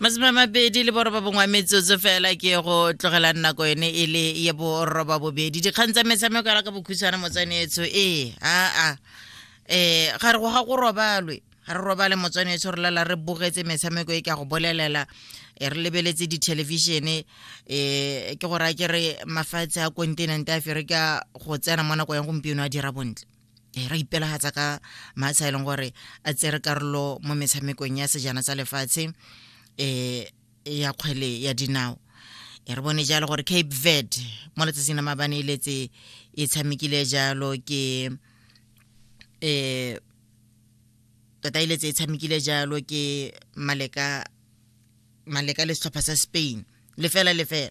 29 metsotso fela ke go tlogela nako yone e le ya 8:30. Dikgang tsa metshameko ya ka bokhutshwane, motswanetso. Ee, aa, ga re go ga go robalwe, ga re robale, motswanetso. Re lala re bogetse metshameko e, ke a go bolelela. Re lebeletse dithelebišene. Ke gore a ke re mafatshe a kontinente a Aferika go tsena mo nako ya gompieno a dira bontle. Re ipelagatsa ka matsha e leng gore a tsere karolo mo metshamekong ya sejana sa lefatshe ya kgwele ya dinao. Re bone jalo gore Cape Verde mo letsatsing la maabane e letse e tshamekile jalo ke tota e letse e tshamekile jalo ke maleka maleka le setlhopha sa Spain, 0-0.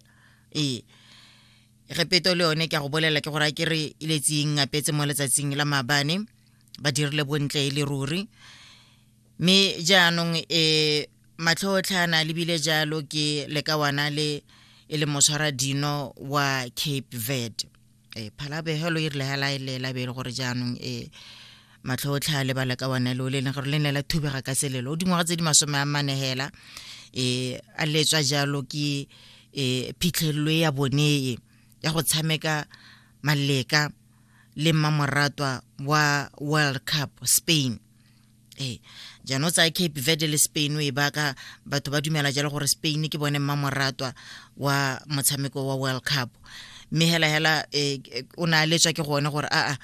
Repeto le yone, ke a go bolela, ke gore a ke re e letse e ngapetse mo letsatsing la maabane, ba dirile bontle e le ruri. Mme jaanong matlhotlhana lebile jalo ke lekawana le e le motshwara dino wa Cape Verde. Phalabegelo e rile hela e lela, be e le gore jaanong matlhotlha le balekawana leo le leng gore le ne la thubega ka selelo, o dingwaga tse di 40 hela, a letswa jalo ke phitlhelelo ya bone e ya go tshameka maleka le mmamoratwa wa World Cup, Spain. Jaanong o tsaya Cape Verde le Spain, o e baka batho ba dumela jalo gore Spain ke bone mmamoratwa wa motshameko wa World Cup. Mme hela hela o ne a letswa ke gone gore aa